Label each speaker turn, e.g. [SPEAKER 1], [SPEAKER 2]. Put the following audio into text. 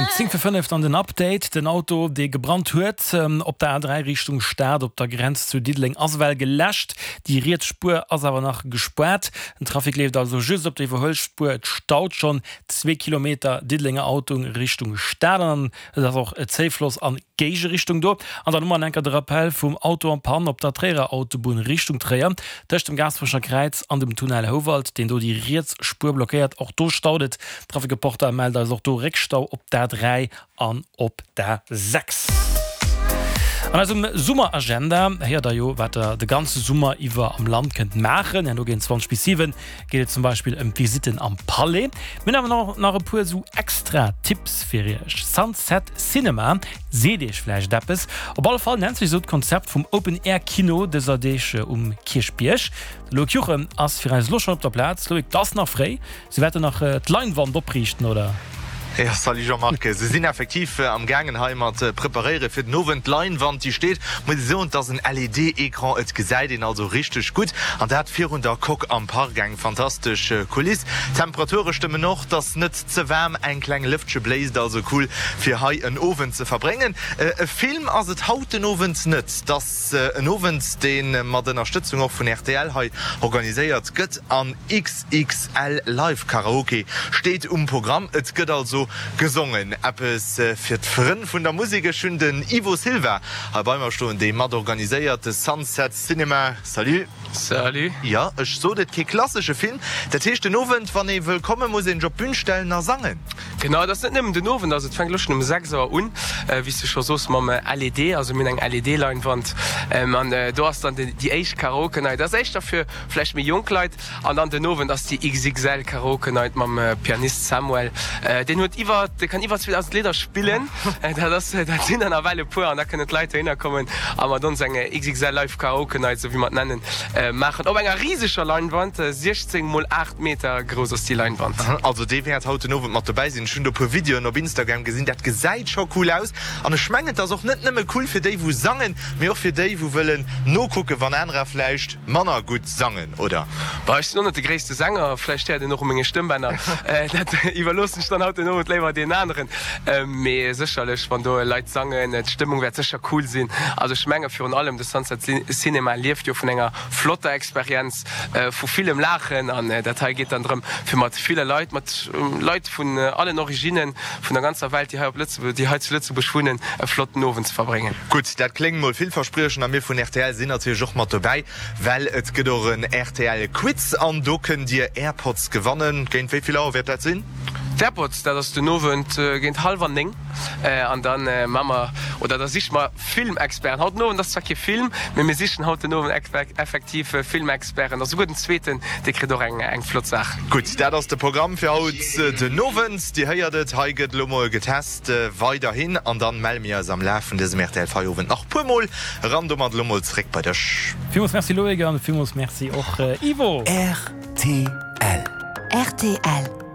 [SPEAKER 1] Um 10 vir 5 dann den Update, Den Auto, dee gebrannt huet op der A3 Richtung Stad op der Grenz zu Diddeleng, ass ewell geläscht. Déi riets Spuer ass awer nach gespaart. Den Trafic leeft also just op der Iwwerhuelspuer. Et staut schonn zwee Kilometer Diddelenger Autong Richtung Stad an et ass och Zéifloss an Géigerichtung do. An dann hu mer an enker de Rappel vum Auto en panne op der Tréierer Autobunn Richtung Tréier, tëscht dem Gaasperecher Kräiz an dem Tunnel Houwald, deen do déi riets Spuer blockéiert. Och do staut et. Trafic Reporter mellt eis och do Réckstau op d'A3 an op d'A6. An eisem Summeragenda héiert der jo, wat der de ganze Summer iwwer am Land kënnt maachen. Herno géint 20 bis 7 geet et zum Beispill ëm d'Visitten am Palais. Mir hunn awer och nach e puer sou extra Tipps fir iech. Sunset Cinema seet iech vläicht eppes. Op alle Fall nennt sech esou d'Konzept vum Open Air Kino dëser Deeg um Kierchbierg. De Loïc Juchem ass fir eis elo schonn op der Plaz. Loïc, 't ass nach fréi. Se wäerten nach d'Leinwand opriichten, oder?
[SPEAKER 2] Jo, salut Jean-Marc. Se sinn effektiv am gaangen hei mat preparéiere fir den Owend. D'Leinwand déi steet, muss ee soen, et ass en LED-Ecran, et gesäit een also richteg gutt an dat virun der Coque am Park. Eng fantastesch Kuliss. D'Temperature stëmmen och, et ass net ze waarm, eng kleng Lëftche bléist, also cool fir hei en Owend ze verbréngen. E Film ass et haut den Owend net, et ass en Owend dee mat Ënnerstëtzung och vun rtl hei organiséiert gëtt an. XXL Live Karaoke steet um Programm. Et gëtt also gesongen. Eppes fir d'Frënn vun der Musek. Ech hunn den Ivo Silva hei bei mer stoen, dee mat organiséiert de Sunset Cinema. Salut.
[SPEAKER 3] Salut.
[SPEAKER 2] Jo, ech sot et, kee klassesche Film. Dat heescht, den Owend, wann ee wëll kommen, muss een sech op d'Bün stellen a sangen.
[SPEAKER 3] Genau, et ass net nëmmen den Owend, also et fänkt elo schonn um 6 Auer un, wéi s du scho soos, mam LED, also mir hunn eng LED-Leinwand an do ass dann déi éischt Karaoke-Night. Dat ass éischter fir vläicht méi jonk Leit. An dann den Owend ass déi XXL Karaoke Night mam Pianist Samuel. Deen huet iwwer, dee kann iwwer 2000 Lidder spillen. Dat ass, dat sinn der nawell e puer an da kënnen d'Leit dohinner kommen a mat ons eng XXL Live Karaoke Night, esou wéi mer et nennen, maachen. Op enger riseger Leinwand, 16 mol 8 Meter grouss ass déi Leinwand.
[SPEAKER 2] Also dee wäert haut den Owend mat dobäi sinn. Ech hunn do e puer Videoen op Instagram gesinn, dat gesäit scho cool aus. An ech mengen et ass och net nëmme cool fir déi wou sangen, mee och fir déi wou wëllen nokucken, wann anerer vläicht manner gutt sangen, oder?
[SPEAKER 3] Bah, ech sinn och net de gréisste Sänger, vläicht héiert een och u menge Stëmmbänner. Dat iwwerloossen ech dann haut den Owend léiwer deenen aneren. Mee sécherlech, wann do Leit sangen, d'Stëmmung wäert sécher cool sinn. Also ech menge virun allem, de Sunset Cinema lieft jo vun enger flotter Experienz, vu villem Laachen. An dat hei geet dann drëm, fir mat ville Leit, mat Leit vun allen Originnen, vun der ganzer Welt, déi hei op Lëtzebuerg, déi hei zu Lëtzebuerg wunnen, e flotten Owend ze verbréngen.
[SPEAKER 2] Gutt, dat kléngt mol villverspriechend a mir vun rtl sinn natierlech och mat dobäi, well et gëtt och en rtl Quiz an do kënnt dir Airpods gewannen. Géint wéi vill Auer wäert dat sinn?
[SPEAKER 3] D'Airpods, dat ass den Owend géint hallwer 9 an da maache mer, oder da siche mer Filmexperten. Haut den Owend ass zwar kee Film, mee mir sichen haut den Owend effektiv Filmexperten a souguer den zweeten, dee kritt och eng flott Saach.
[SPEAKER 2] Gutt, dat ass de Programm fir haut den Owend. Dir héiert et, hei gëtt elo mol getest weiderhin an dann melle mir eis am Laf vun dësem rtl Feierowend nach puer mol eran. Domat elo mol zeréck bei dech.
[SPEAKER 1] Villmools Merci Loïc an villmools Merci och Ivo.
[SPEAKER 4] Rtl.
[SPEAKER 5] Rtl.